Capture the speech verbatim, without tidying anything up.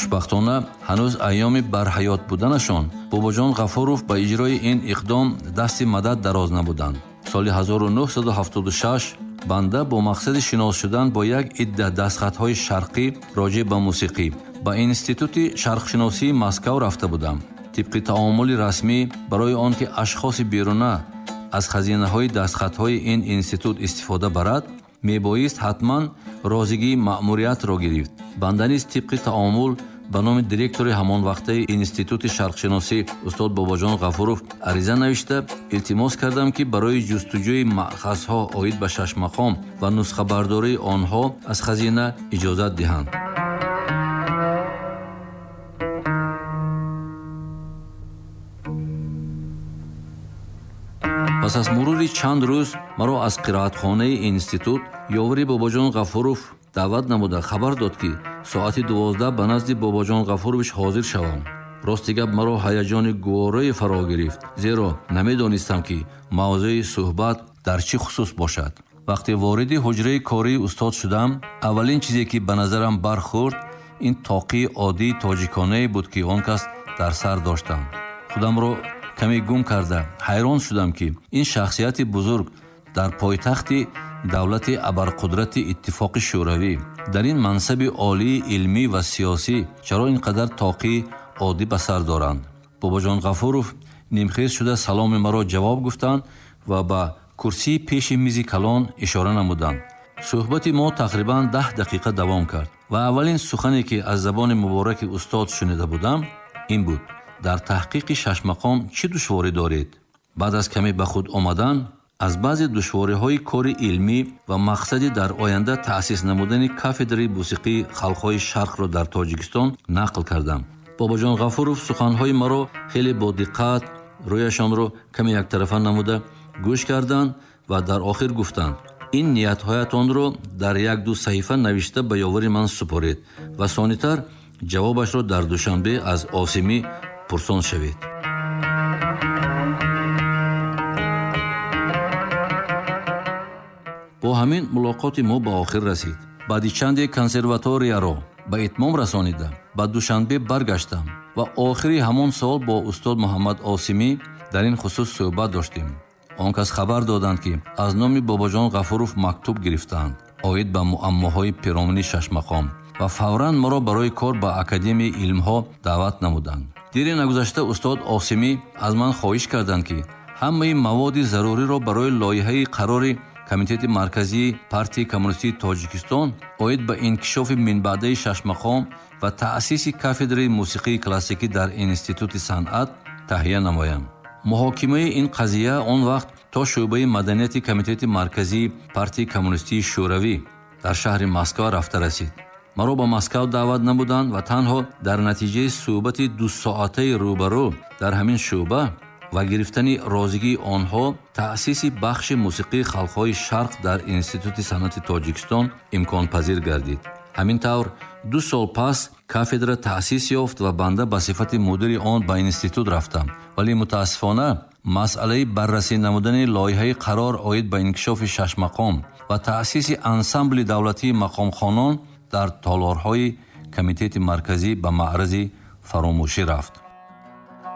Хушбахтона, ҳанӯз айёми барҳаёт буданашон Бобоҷон Ғафуров ба иҷрои ин иқдом дасти мадад дароз набуданд. Соли ҳазору нӯҳсаду ҳафтоду шаш банда бо мақсади шинос шудан бо як идда дастхатҳои шарқӣ роҷеъ ба мусиқӣ ба Институти шарқшиносии Москав рафта будам. Тибқи таомули расмӣ, барои он ки ашхоси беруна аз хазинаҳои дастхатҳои ин институт истифода барад, мебоист ҳатман розигии маъмуриятро гирифт. Банда низ тибқи таомул ба номи директори ҳамон вақтаи Институти шарқшиносӣ устод Бобоҷон Ғафуров ариза навишта илтимос кардам, ки барои ҷустуҷӯи маъхазҳо оид ба шашмақом ва нусхабардории онҳо аз хазина иҷозат диҳанд. Пас аз мурури чанд рӯз маро аз қироатхонаи институт ёвари Бобоҷон Ғафуров даъват намуда хабар дод, ки соати дувоздаҳ ба назди Бобоҷон Ғафурович ҳозир шавам. Рости гап, маро ҳаяҷони гуворое фаро гирифт, зеро намедонистам, ки мавзӯи суҳбат дар чӣ хусус бошад. Вақте вориди ҳуҷраи кории устод шудам, аввалин чизе, ки ба назарам бархӯрд, ин тоқии оддии тоҷиконае буд, ки он кас дар сар доштам. Худамро каме гум карда ҳайрон шудам, ки ин шахсияти бузург дар пойтахти давлати абарқудрати Иттифоқи Шӯравӣ дар ин мансаби олии илмӣ ва сиёсӣ чаро ин қадар тоқии оддӣ ба сар доранд. Бобоҷон Ғафуров нимхез шуда саломи маро ҷавоб гуфтанд ва ба курсии пеши мизи калон ишора намуданд. Суҳбати мо тақрибан даҳ дақиқа давом кард ва аввалин сухане, ки аз забони мубораки устод шунида будам, ин буд: дар таҳқиқи шашмақом чӣ душворӣ доред? Баъд аз каме ба худ омадан аз баъзе душвориҳои кори илмӣ ва мақсади дар оянда таъсис намудани кафедраи мусиқии халқҳои шарқро дар Тоҷикистон нақл кардам. Бобоҷон Ғафуров суханҳои маро хеле бо диққат, рӯяшонро каме яктарафа намуда гӯш карданд ва дар охир гуфтанд: ин ниятҳоятонро дар як-ду саҳифа навишта ба ёвари ман супоред ва сонитар ҷавобашро дар Душанбе аз Осимӣ пурсон шавед. Бо ҳамин мулоқоти мо ба охир расид. Баъди чанде консерваторияро ба итмом расонида ба Душанбе баргаштам ва охири ҳамон сол бо устод Муҳаммад Осимӣ дар ин хусус суҳбат доштем. Он кас хабар доданд, ки аз номи Бобоҷон Ғафуров мактуб гирифтаанд оид ба муаммоҳои пиромуни шашмақом ва фавран маро барои кор ба Академияи илмҳо даъват намуданд. Дире нагузашта устод Осимӣ аз ман хоҳиш карданд, ки ҳамаи маводи заруриро барои лоиҳаи қарори Комитети марказии партияи коммунистии Тоҷикистон оид ба инкишофи минбаъдаи шашмақом ва таъсиси кафедраи мусиқии классикӣ дар Институти санъат таҳия намоям. Муҳокимаи ин қазия он вақт то шӯъбаи маданияти Комитети марказии партияи коммунистии Шӯравӣ дар шаҳри Москва рафта расид. Маро ба Москав даъват намуданд ва танҳо дар натиҷаи суҳбати дусоатаи рӯбарӯ дар ҳамин шӯъба ва гирифтани розигии онҳо таъсиси бахши мусиқии халқҳои шарқ дар Институти санъати Тоҷикистон имконпазир гардид. Ҳамин тавр ду сол пас кафедра таъсис ёфт ва банда ба сифати мудири он ба институт рафтам. Вале мутаассифона масъалаи баррасӣ намудани лоиҳаи қарор оид ба инкишофи шашмақом ва таъсиси ансамбли давлатии мақомхонон дар толорҳои Комитети марказӣ ба маърази фаромӯшӣ рафт.